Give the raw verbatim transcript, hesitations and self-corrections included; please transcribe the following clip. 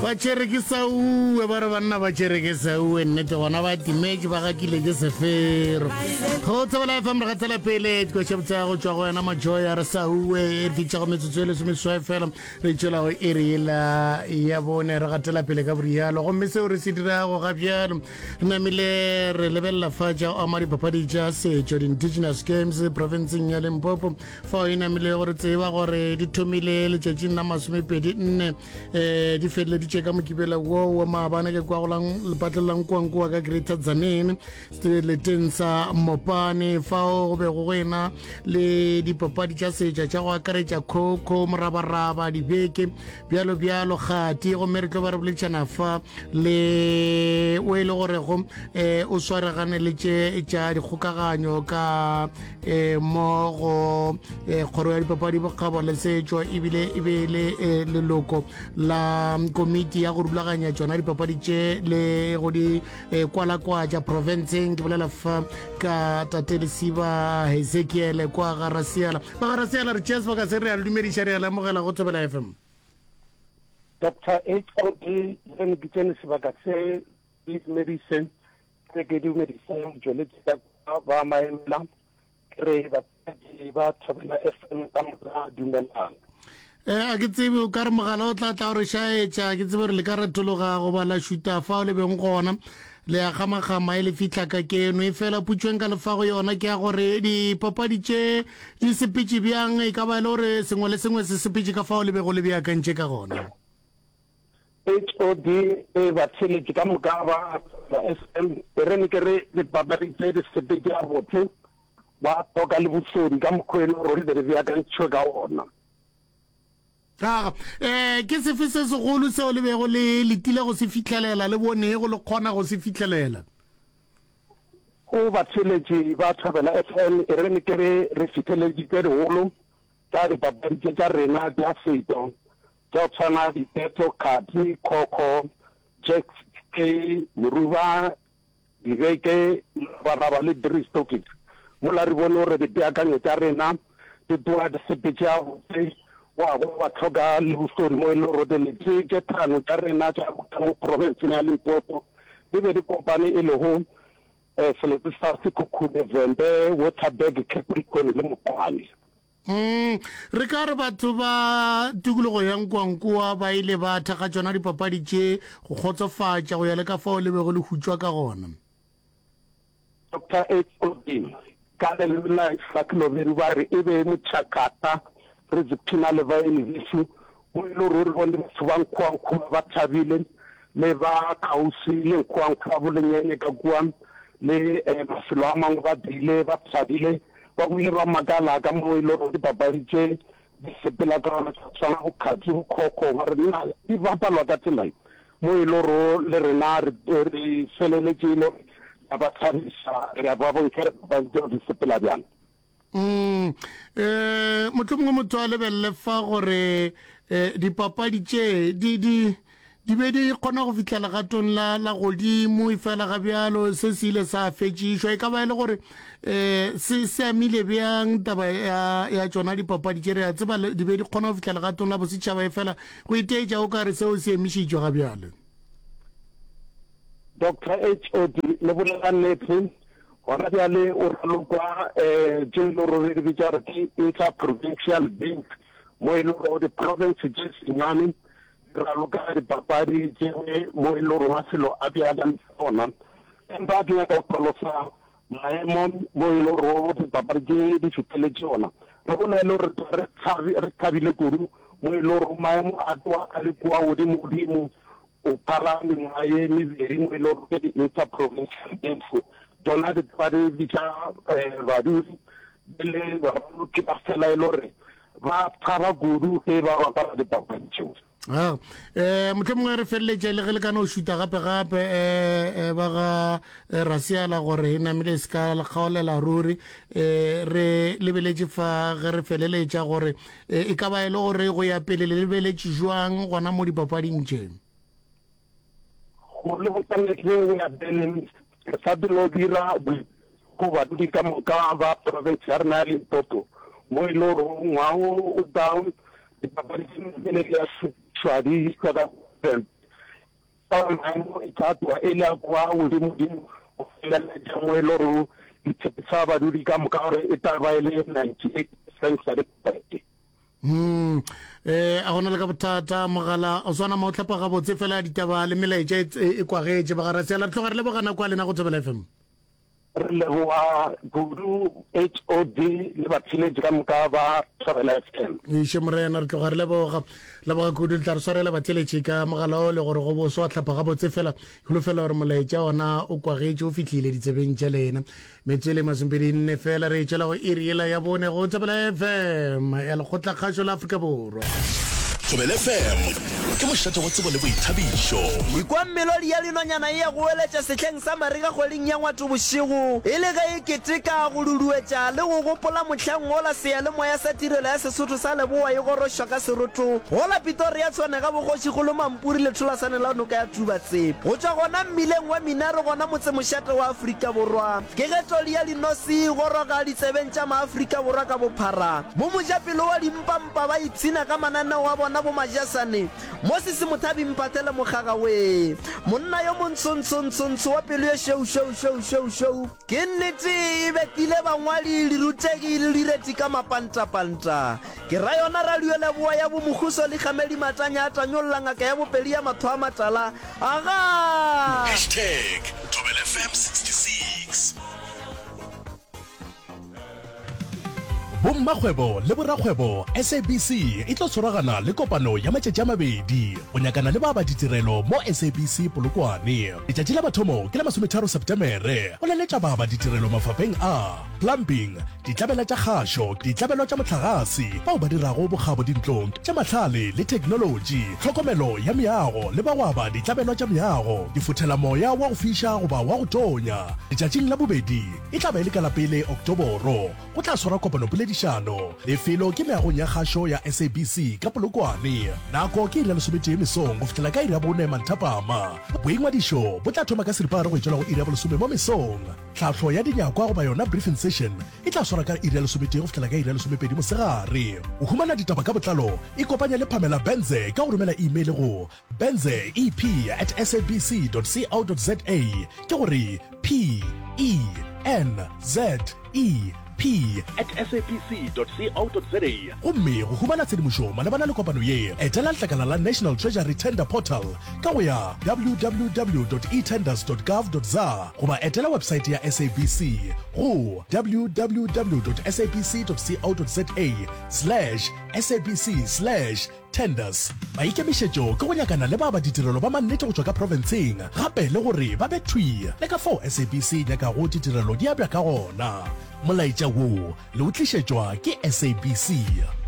Ba tšere ke sauwe, ba re banna ba tšere ke sauwe, nnete gona ba timetše, ba gakile ke sefero. Go Thobela F M re gatela pele dikoša botsa go tšwa go wena Majoy a re sauwe e re fitšago metsotso e lesomeswai fela re tšwela go iri yela ya bone re gatela pele ka borialo. Gomme seo re se dirago ga bjalo re namile re lebelela fa tša go ama dipapadi tša setšo di-indigenous games provinceng ya Limpopo, fao e namile gore tseba gore di thomile letšatšing la masomepedi nne um di feleleditše ka Mokibelo wo wa maabane ke kwa go lepatlelo la Nkoankoa ka Greater Tzaneen seleteng sa Mopane, fao go bego go ena le dipapadi tša setša tša go akaretša khokho, morabaraba, dibeke, bjalo bjalo kgati. Gomme re tlo ba re boledišana fa le o e le gorego um o swaregane le tše tša dikgokaganyo ka um mo go eh, kgoro ya dipapadi, bokgabo le setšo, ebile e be le eh, leloko la komiti ya go rulaganya tšona dipapadi tše le go di eh, kwalakwatša provinceng. Ke bolela fa ka tate Lesiba Hezekiele kwa Garasiela. Ba Garasiela, re tšea sebaka se re a le dumediša, re a le amogela go Thobela F M. Doctor H O D, re ke tsene sebaka se ke dumedise, re ke dumedise motšweletši ka kwa ba maemela, ke re batswadi ba Thobela F M ka moka, dumelang. Eh, a ke tsebe o ka re mogala o tla tla gore šaetša, ke tsebe gore le ka retologa goba la šuta fao le beng gona le ya kgamakgama e le fihla ka keno e fela putšweng ka lefago yona ke ya gore dipapadi tše di sepetše bjang, e ka ba e le gore sengwe le sengwe se sepetše ka fao le bego le beakantše ka gona? H O D e batheletši ka moka ba ba F M, e re ne ke re dipapadi tse di sepetše gabotse, ba toka le bosodi ka mokgwa e le gore di be di beakantšhwe ka ona. Aga, um ke sefe se segolo seo le bego le letile go se fihlelela le bonego le kgona go se fihlelela? Go batheletši ba Thobela F M, e re ne ke re re fitlheleditse digolo tša dipapadi tše tša rena tša setšo tša go tshwana diketo, kgati, khokho, jack, moruba, dibeke, morabaraba le drie stokkies, mola re bone gore dipeakanyo tša rena di tloga di sepetše gabotse wa go ba tlhoka le bosodi, mo e le gore dilete tše tlhano tša rena tša mo provinceng ya Limpopo di be di kopane, e lego um selete sa Sekhukhune, Vhembe, Waterberg, Capricorn le Mopane. Mm, re ka re batho ba tikologo ya Nkoankoa ba ile ba thekga tšona dipapadi tše go kgotsofatša go ya le ka fao le bego le hutšwa ka gona? Doctor H O D, ka leleme la Selobedu ba re e be motšhakata re dziphina le baeni bešu, mo e le gore re bone batho ba Nkoankoa ba thabile, le ba kgauswi le Nkoankoa, bolenyenye ka kua le um mafelo a mangwe, ba bile ba thabile, ba bile ba makala ka mo e le gore dipapadi tše di sepela ka gona, tša tshwana bokgatsi, bokhokho, ba re nna di bapalwa ka tsela e, mo e le gore le rena re re feleletše e le gore ra ba thabiša, re a ba bontšha dipapadi tseo di sepela bjang. Mm, eh mohlomongwe motho a lebelele fa gore eh dipapadi tše di di di be di kgona go fihla legatong la la godimo, e fela ga bjalo se se ile sa fetšišwa, e ka ba e le gore um se se amile bjang taba ya ya tšona dipapadi tše? Re a tseba di be di kgona go fihla legatong la bosetšhaba, e fela go iteetša o ka re seo se emišitšwe ga bjale. Doctor H O D, le bolela nnete, gona bjale o ralokwa um tše e le gore re di bitša gore ke inter-provincial games, mo e le gore di-province tše senyane di raloka dipapadi tše, mo e le gore mafelo a beakantse ona. Empa ke nyaka go hlalosa maemo mo e le gore dipapadi tše di fihleletše ona. Re bona e le gore re thabile kudu, mo e le gore maemo a tloga a le kua godimo godimo o phala mengwaga ye mebedi, mo e le gore ke di-inter-provincial games tsona di tloga di bitša badudi be le baraloki ba fela e le gore ba thaba kudu ge ba bapala dipapadi tšeo. Ah, eh mohlomongwe re feleletše le ge le ka no šuta gape gape eh ba ga Rasiala gore e namile se ka le kgaolela ruri, eh re lebeletše fa ge re feleletša gore e ka ba e le gore go ya pele le lebeletše jwang gona mo dipapading tše? Go le botsa nnete, go ya pele re sa dilo dira go badudi ka moka ba province ya rena ya Limpopo, mo e le gore ngwaga o tlang dipapadi tše pele di a šupišwa di išwa ka Ka maemo e tla tloga e le a kwa godimodimo go feleletša mo e le gore di tshepiša badudi ka moka gore e tla ba e le ninety-eight percent satisfied. Hmm. Eh, a gona le ka bothata mogala o swana ma o tlhapa gabotse fela ditaba le melaetša e, e, e kwagetše bagarasiala. Re tloga re leboga nako ya lena go Thobela F M. Re leboga kudu H O D le batheeletši ka moka ba Thobela F M. Iše morena, re tloga re leboga leboga kudu. Le tla re swarela batheeletši ka mogala o le gore go boso wa tlhapa gabotse fela. Holofela gore molaetša ona o kwagetše o fihlile ditsebeng tša lena. Metsotso e le masomepedi nne fela re tšwela go iri yela ya bone go Thobela F M ya Lekgotlakgašo la Afrika Borwa. Thobela F M ke mošate wa tsebo le boithabišo. Ikwa melodi ya dinonyana e ya goeletša sehleng sa marega kgweding ya Ngwatobošego, e le ge e keteka go duduetša le go gopola mohlang wola seyalemoya sa tirelo ya Sesotho sa Leboa e gorošwa ka seroto gola Pretoria Tshwane ga boKgošikgolo Mampuri letholasane la noka ya Tubatse. Go tšwa gona mmileng wa Minaro gona motsemošate wa Afrika Borwa ke ge todi ya dinosi e goroga ditsebeng tša maAfrika Borwa ka bophara. Bo mojapelo wa dimpampa ba ipshina ka mananeo a bona bo Majasane, Moses Mothabi Mphathele Mokgaga wee, monna yo montsho-ntsho-ntsho-ntsho wa pelo ye šweu-šweu-šweu-šweu-šweu. Ke nnete e betile bangwadi, dirutegi le direti ka mapantapanta. Ke ra yona radio leboa ya bo Mokhuso Likgamedi Matanya a tanyolla ngaka ya bopedi ya matho a matala. Agaa! Hashtag Thobela F M sixty-six. Bommakgwebo le borakgwebo, S A B C e tlo tshwaragana le kopano ya matšatši a mabedi go nyakana le baaba ditirelo mo S A B C Polokwane. Letšatši la mathomo ke la masometharo Setemere go laletša baaba ditirelo mafapeng a plumbing, ditlabela tša kgašo, ditlabelo tša mohlagase, bao ba dirago bokgabo dintlong tša mahlale le theknolotši, tlhokomelo ya meago le ba go aba ditlabelo tša meago, difothelamoya wa go fiša goba wa go tonya. Letšatšing la bobedi e tla ba e le ka la pele Oktoboro. Go tla swarwa kopanopoledišano. Lefelo ke meagong ya kgašo ya S A B C ka Polokwane. Nako ke iri ya lesometee mesong go fihlela ka iri ya bone manthapama. Boingwadišo bo tla thoma ka seripagare go etšwela go iri ya bolesome mo mesong. Tlhahlo ya dinyakwa goba yona briefing session e tla swarwa ka iri ya lesometee go fihlela ka iri ya lesomepedi mosegare. Go humana ditaba ka botlalo, ikopanye le Pamela Benze ka go romela email go benze e p at sabc dot co dot za, ke gore P E N Z E P at sabc dot co dot za. Gomme go humana tshedimošo malebana le kopano ye, etela letlakala la National Treasury Tender Portal ka go ya www dot etenders dot gov dot za goba etela websaete ya S A B C go www dot sabc dot co dot za slash sabc slash tenders. Maikemišetšo ke go nyakana le ba ba ditirelo ba mannete go tšwa ka profenseng, gape le gore ba be thwi le ka fao S A B C e nyakago ditirelo di abja ka gona. Molaetša wo le o tlišetšwa ke S A B C.